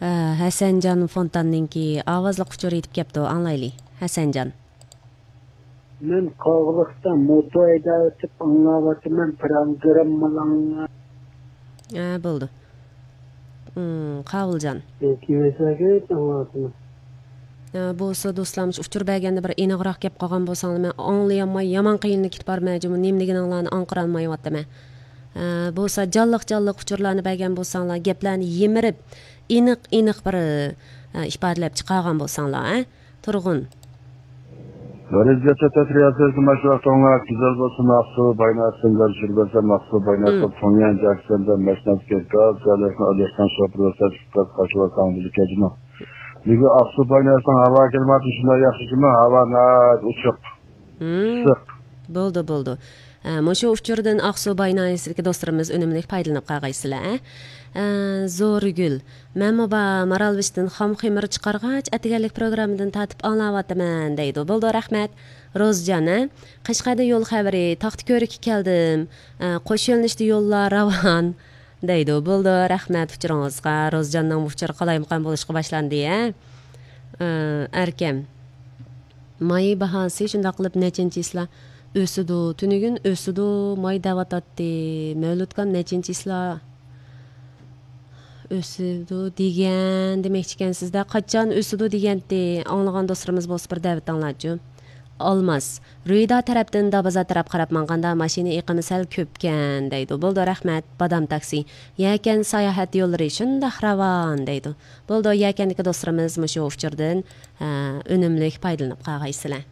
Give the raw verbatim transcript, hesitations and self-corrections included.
ھە، ھەسەنجان فونتاننىڭكى ئاۋازلىق ئۇچۇرى يېتىپ كەپتۇ، ئاڭلايلى. ھەسەنجان. مەن قاغىلىقتا موتو ھەيدەۋېتىپ ئاڭلاۋاتىمەن، پىروگراممىلاڭلار. ھە، بولدى. ئىم، قاۋۇلجان. كېيىنسەگە ئاڭلاۋاتىمەن. ھە، بولسا دوستلار، مۇشۇ ئۇچۇر بەرگەندە بىر ئېنىقراق گەپ قىلغان بولساڭلار، مەن ئاڭلىيالماي يامان قىينىلىپ كېتىپ بارىمەن جۇمۇ، نېمىلىكىنى ئاڭلارنى ئاڭقىرالمايۋاتىمەن. ھە، بولسا جانلىق جانلىق ئۇچۇرلارنى بەرگەن بولساڭلار، گەپلەرنى يىمىرىپ، ئېنىق ئېنىق بىر، ھە، ئىپادىلەپ چىقارغان بولساڭلار، ھە؟ تۇرغۇن. رەزىيەتتە تەترىياتىدىكى ماشۇ ۋاقتىڭلار گۈزەل بولسۇن، ئاقسۇ بايناسىندا چۈشۈرۈۋەرسەم، ئاقسۇ بايناسىدا مم. تۇڭيەن جاكسەندە ماشىنىسىگە گاز جايلاشقان ئادەشكەن شوپۇر ۋە تەكلىپ قاچىلار تاڭدىلىك كەجمۇ. بۈگۈن ئاقسۇ بايناسىنىڭ ھاۋا كىلىماتى شۇنداق ياخشىكىمۇ، ھاۋا ناھايىتى ئوچۇق، مم. ئىسسىق. بولدى، بولدى. ئە، مۇشۇ ئۇچۇردىن ئاقسۇ باي ناھىيەسىدىكى دوستلىرىمىز ئۈنۈملۈك پايدىلىنىپ قالغايسىلەر، ئە. ئە، زورىگۈل، مەنمۇ بار مارالبېشىدىن خام خېمىر چىقارغاچ، ئەتىگەنلىك پروگراممىدىن تارتىپ ئاڭلاۋاتىمەن، دەيدۇ. بولدى، رەھمەت. روزجان، ئە، قەشقەردىن يول خەۋىرى، تاختىكۆرۈككە كەلدىم، ئە، قوش يۆنىلىشتە يوللار راۋان، دەيدۇ. بولدى، رەھمەت ئۇچۇرىڭىزغا. روزجاننىڭ ئۇچۇرى قالايمىقان بولۇشقا باشلاندى، ئە. ئە، ئەركەم. ماي باھاسى شۇنداق قىلىپ نەچچىنچى چىسلا ئۆسىدۇ، تۈنۈگۈن ئۆسىدۇ، ماي دەۋاتاتتى. مەۋلۇتكام نەچچىنچى چىسلا ئۆسىدۇ دېگەن دېمەكچىكەنسىز-دە، قاچان ئۆسىدۇ دېگەنتى؟ ئاڭلىغان دوستلىرىمىز بولسا بىر دەۋېتىڭلارچۇ. ئالماس، رۇيدا تەرەپتىن دابازا تەرەپ قاراپ ماڭغاندا ماشىنا ئېقىمى سەل كۆپكەن، دەيدۇ. بولدى، رەھمەت، بادام تاكسى. يەكەن ساياھەت يوللىرى شۇنداق راۋان، دەيدۇ. بولدى، يەكەندىكى دوستلىرىمىز مۇشۇ ئۇچۇردىن، ئە، ئۈنۈملۈك پايدىلىنىپ قالغايسىلەر.